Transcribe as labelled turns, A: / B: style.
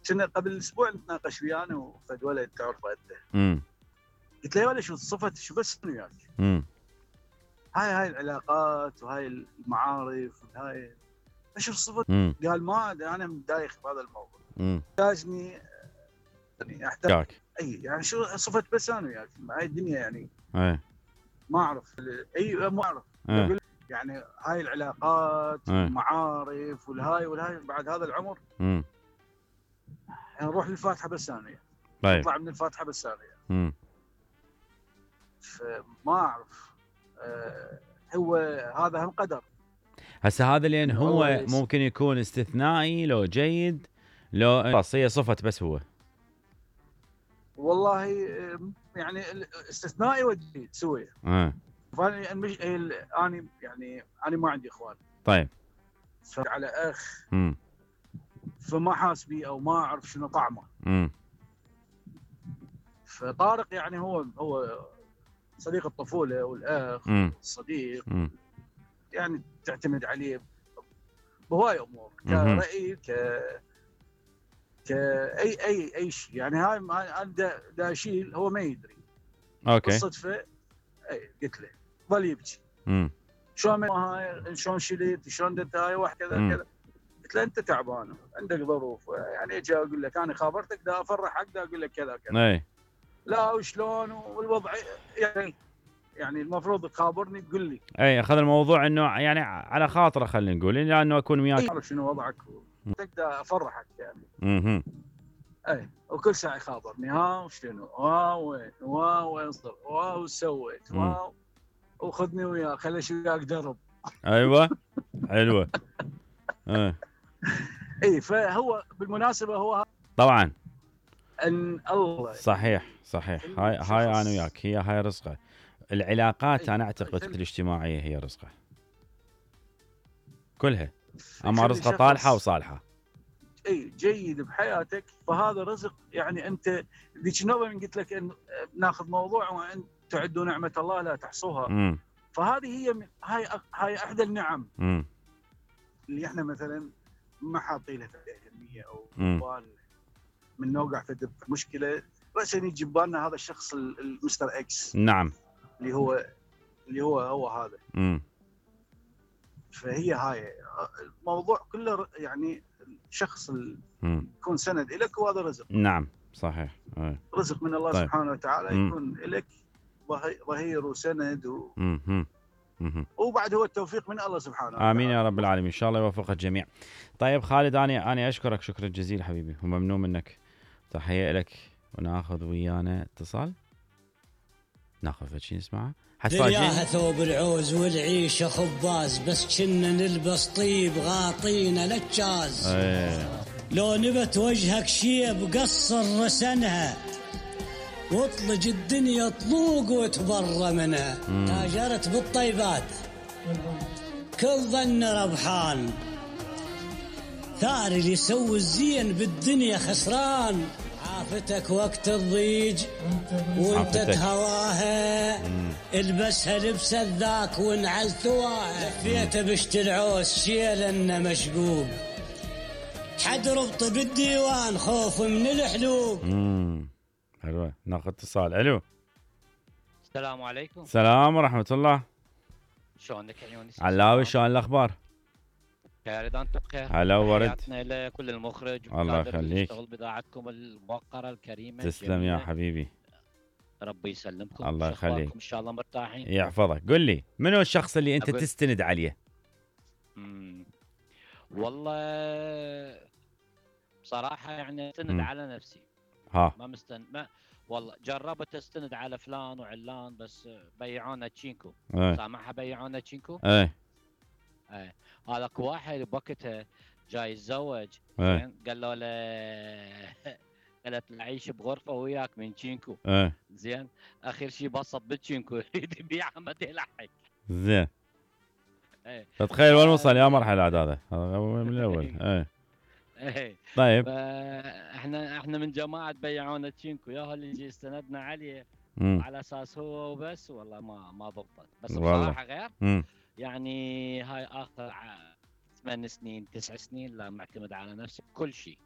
A: كنا قبل اسبوع نتناقش ويانا وفد ولد تعرفه انت. قلت له يا ولد شو صفه شو بس وياك؟ هاي العلاقات وهاي المعارف وهاي ايش الصفه؟ قال ما انا مدايخ بهذا الموضوع. احتاجني يعني احتاج اي يعني شو صفه بس انا وياك هاي الدنيا يعني ما اعرف ما اعرف اقول يعني هاي العلاقات والمعارف والهاي بعد هذا العمر يعني نروح للفاتحه بس انا يعني. نطلع من الفاتحه بس انا يعني. فما اعرف هو هذا هم قدر.
B: هسه هذا لان هو ممكن يكون استثنائي لو جيد لو هي صفة بس هو
A: والله يعني استثنائي وجيد سويه. انا يعني انا ما عندي اخوان.
B: طيب
A: على اخ فما حاس بي او ما اعرف شنو طعمه. فطارق يعني هو صديق الطفوله والاخ الصديق يعني تعتمد عليه بهواي امور كرأي اي شيء يعني. هاي انا دا اشيل هو ما يدري.
B: اوكي
A: بالصدفه قلت له ظل يبكي. شلون هاي شلون شلت شلون درت هاي وكذا كذا. قلت له انت تعبان عندك ظروف يعني اجي اقول لك انا خابرتك دا افرحك دا اقول لك كذا كذا. لا وشلون والوضع يعني المفروض تخابرني تقول لي.
B: اخذ الموضوع انه يعني على خاطره خلينا نقول لانه اكون وياك.
A: اعرف شنو وضعك تقدر افرحك يعني. وكل ساعه يخابرني ها وشنو وين صرت وسويت وخذني وياك خلي شو وياك درب.
B: ايوه حلوه.
A: فهو بالمناسبه هو
B: طبعا
A: ان الله
B: صحيح هاي انا وياك هاي رزقه. العلاقات انا اعتقد الاجتماعيه هي رزقه كلها اما رزقه طالحه وصالحه.
A: جيد بحياتك فهذا رزق يعني. انت ذيك النوبه من قلت لك ان ناخذ موضوع وان تعدوا نعمه الله لا تحصوها. فهذه هي هاي احدى النعم اللي احنا مثلا ما حاطين لها اهميه او بال من نوقع في مشكله بس يجي ببالنا هذا الشخص المستر اكس.
B: نعم
A: اللي هو هذا. فهي هاي الموضوع كله يعني الشخص يكون سند لك وهذا رزق.
B: نعم صحيح
A: رزق من الله سبحانه وتعالى يكون لك ظهير وسند وبعد هو التوفيق من الله سبحانه وتعالى.
B: امين يا رب العالمين ان شاء الله يوفق الجميع. طيب خالد انا اشكرك شكرا جزيلا حبيبي وممنون منك. تحيه لك وناخذ ويانا اتصال ناخذ شيء نسمعه.
C: دنياها ثوب العوز والعيشه خباز بس كنا نلبس طيب غاطينا للجاز. لو نبت وجهك شيب قصر رسنها واطلج الدنيا طلوق وتبرى منها. تاجرت بالطيبات كل ظن ربحان ثاري اللي يسوي الزين بالدنيا خسران. عافتك وقت الضيج وانت تهواها البسها لبس الذاك وانعل ثواها. لفيت بشت العوز شيل انه مشقوق حد ربط بالديوان خوف من الحلوق.
B: حلوه ناخذ اتصال. الو
D: السلام عليكم.
B: السلام ورحمه الله.
D: شلونك يا يونس؟
B: علاوي شلون الاخبار؟
D: خير اذا انتم بخير.
B: هلا ورد.
D: تحياتنا لكل المخرج
B: الله يخليك.
D: يشتغل بضاعتكم الموقره الكريمه.
B: تسلم يا حبيبي.
D: ربي يسلمكم.
B: الله يخليك.
D: ان شاء الله مرتاحين.
B: يحفظك. قل لي منو الشخص اللي انت تستند عليه؟
D: والله بصراحه يعني استند على نفسي. ما مستند ما والله جربت استند على فلان وعلان بس بيعونا تشينكو. سامعها بيعونا تشينكو. هذاك واحد بوقتها جاي يتزوج قال له قالت له عيش بغرفه وياك من تشينكو. زين اخر شيء بسط بالتشينكو يريد يبيعها ما يلحق.
B: زين تتخيل وين وصل يا مرحله عاد هذا من الاول. طيب
D: احنا من جماعه بيعونا تشينكو يا اللي يجي استندنا عليه على اساس هو وبس. والله ما ضبطت بس بصراحه غير يعني هاي اخر 8 سنين 9 سنين لا معتمد على نفسي كل شيء